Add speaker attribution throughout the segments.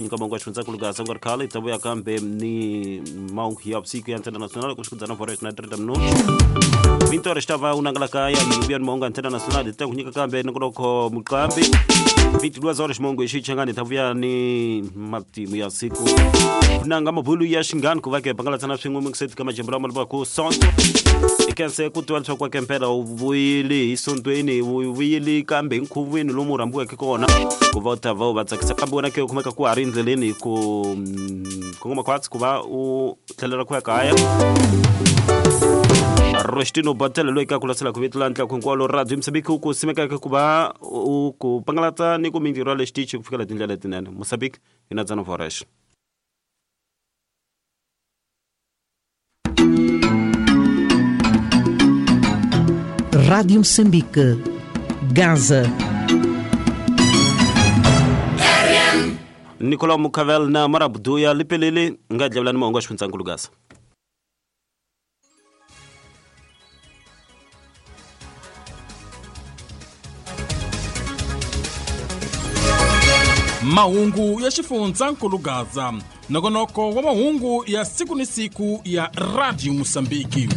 Speaker 1: Nyika mongo wa xifundzankulu Gaza ku nga ri khale hi ta vuya kambe ni mahungu ya vusiku ya Antena Nacional ku xikudzana vhora na 30 minutos Vintora xi ta va u nangala kaya hi vuya ni mahungu ya Antena Nacional hi ta ku nyika kambe nongonoko muqambi 22 horas mongo hi xichangani hi ta vuya ni matimu ya siku nanga mabulu ya xinghani ku va ke pangalatsana swin'we mingiseti ka majambu lama lava ku sonto ikense ku tiva leswaku wa kempela u vuyile hi sontweni u vuyile kambe hi nkhuvweni lomu u rhambiweke kona ku va u ta va u va tsakisa kambe wena ke u kumeka ku ha ri endleleni ku kongoma khwatsi ku va u tlhelela ku ya kaya Rostino Batele loyi ka ku lasela ku vito la ntlaku hinkwalo radio Mosambiki u ku simekaka ku va u ku pangalata ni ku mintirho ya le xitichi ku fikela tindlela letinene Mosambiki hi na Dzana Voresh.
Speaker 2: Rádio Moçambique, Gaza.
Speaker 1: Nicolau Mucavel na Marabuduya lipelele nga dlevulani mahungu ya xifundzankulu Gaza.
Speaker 3: Mahungu ya xifundzankulu Gaza, nongonoko wa mahungu ya siku ni siku ya Radio Mosambiki.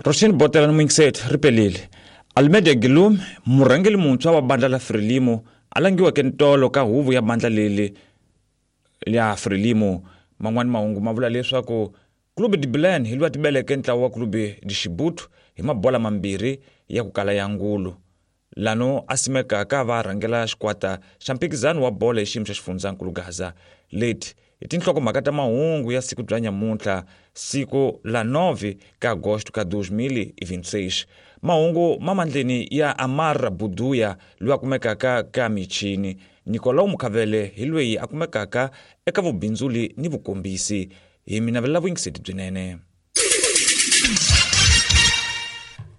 Speaker 4: Roshin Botela ni Muyingiseti ri pelile. Almeida Gilum, murhangeri muntshwa wa bandla la Frelimo, a langiweke ntolo ka huvo ya bandla leli ya Frelimo. Man'wani mahungu ma vula leswaku Clube de Belém hi lwa tibeleke ntlawa wa Clube de Chibuto hi mabola mambirhi ya ku kala ya ngulu. Lano a simekaka va rhangela xikwata xa mphikizano wa bolo hi xiyimo xa xifundzankulu Gaza. Leti i tinhlokomhaka ta mahungu ya siku bya nyamuntlha, siku la 9 ka agosto ka 2026. Mahungu ma mandleni ya Amar Buduya loyi a kumekaka ka michini. Nicolau Mukhavele hi loyi a kumekaka eka vubindzuli ni vukombisi. Hi mi navelela vuyingiseti byinene.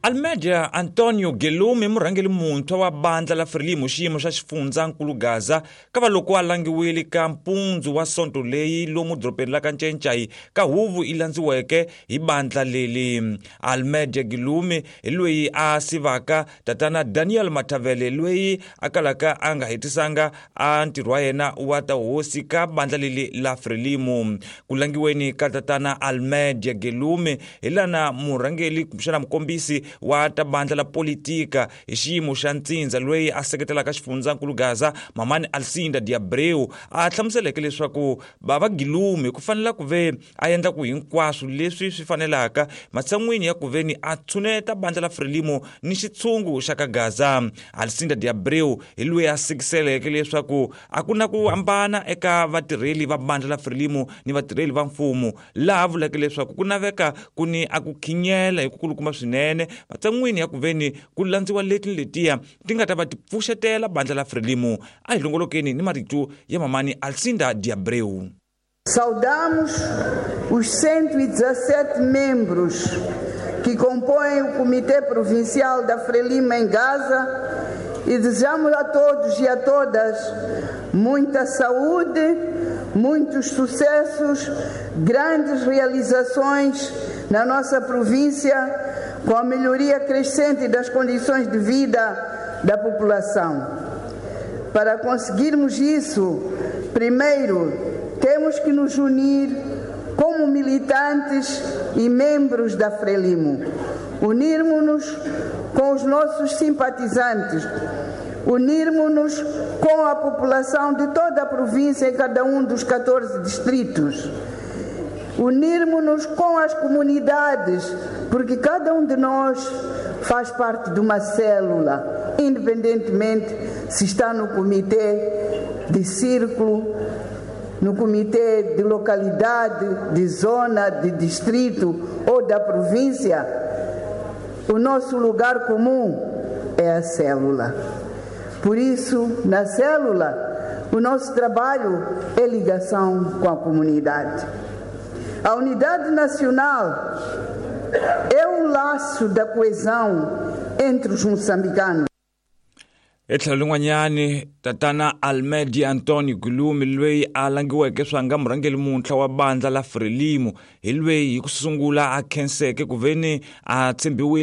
Speaker 4: Almeida Antonio Guilherme, murhangeri muntshwa wa bandla la Frelimo xiyimo xa xifundzankulu Gaza, kava loko a langiwile ka mpundzu wa sonto leyi lomu dorobeni la ka Ncencai ka huvo yi landziweke hi bandla leli. Almeida Guilherme hi loyi a sivaka tatana Daniel Mathavele loyi a kalaka a nga hetisanga a ntirho wa yena wa ta hosi ka bandla leli la Frelimo. Ku langiweni ka tatana Almeida Guilherme hi lana murhangeri kumbexana mukombisi wa ta bandla la politika hi xiyimo xa ntsindza loyi a seketelaka xifundzankulu Gaza Mamani Alcinda de Abreu a hlamuseleke leswaku bava Guilherme ku fanela ku ve a endla ku hinkwaswo leswi swi fanelaka matshan'wini ya ku ve ni a tshuneta bandla la Frelimo ni xitshungu xa ka Gaza. Alcinda de Abreu hi loyi a sikiseleke leswaku a ku na ku hambana eka vatirheli va bandla la Frelimo ni vatirheli va mfumo, laha vuleke leswaku ku naveka ku ni a ku khinyela hi ku kulukumba swinene matshan'wini ya ku ve ni ku landziwa leti ni letiya ti nga ta va ti pfuxetela bandla la Frelimo. A hi longolokeni ni marito ya Mamani Alcinda de Abreu.
Speaker 5: Saudamos os 117 membros que compõem o Comitê Provincial da Frelimo em Gaza e desejamos a todos e a todas muita saúde, muitos sucessos, grandes realizações na nossa província, com a melhoria crescente das condições de vida da população. Para conseguirmos isso, primeiro temos que nos unir como militantes e membros da Frelimo. Unirmos-nos com os nossos simpatizantes, unirmos-nos com a população de toda a província em cada um dos 14 distritos. Unirmos-nos com as comunidades, porque cada um de nós faz parte de uma célula, independentemente se está no comitê de círculo, no comitê de localidade, de zona, de distrito ou da província. O nosso lugar comum é a célula. Por isso, na célula, o nosso trabalho é ligação com a comunidade. A unidade nacional é o laço da coesão entre os moçambicanos.
Speaker 4: Etlhelo lin'wanyani, tatana Almedia Antonio Gulumi, loyi a langiweke swanga murhangeri muntshwa wa bandla la Frelimo, hi loyi hi ku sungula a khenseke ku veni a tshembiwile.